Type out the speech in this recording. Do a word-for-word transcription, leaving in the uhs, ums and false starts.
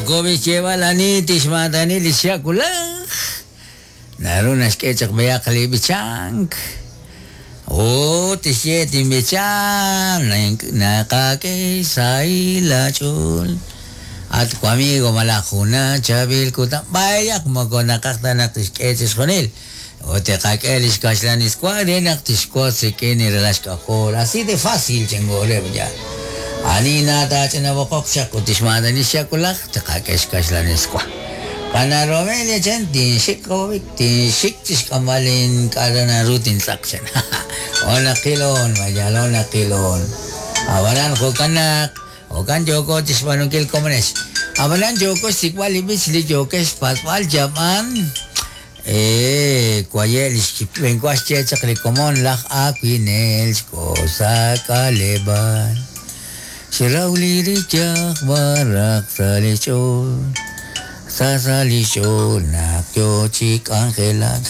Yoko b'ixyeeb'al ani tixmaatani li xyakulaj. Naru naxk'e chaq b'eyaq li b'ichank. Ut tixye tinb'ichan naqak'e sahil aach'ool. At wamigo malaj juna chaab'il kutan. B'ayaq moko naqaj ta naq tixk'e chixjunil. Ut tiqak'e lix kaxlan iswa re naq tixwotz rik'in li ralal xk'ajol. Así de fácil chingoleb ya. Ani nataach'ina boqoq chaq ut tixmaatani xyakulaj tiqak'e xkaxlan iswa. Pana Romelia chan tinxik qawab'ik tinxik chixk'amb'al k'a'ru naru tintz'aq chan. Ona qilon mayal ona qilon. Ab'anan jo'kan naq jo'kan yoko chixb'aanunkil komonex. Ab'anan yoko xsik'b'al li b'ich li yokex xpatz'b'al yab'an. Eh, kwaye lix b'enwa xye chaq li komon laj awinel xkosa k'aleb'aal. Xraw li riyaj baraq sa' li ch'ool. Sa sa li ch'ool naq yo chi k'anjelak.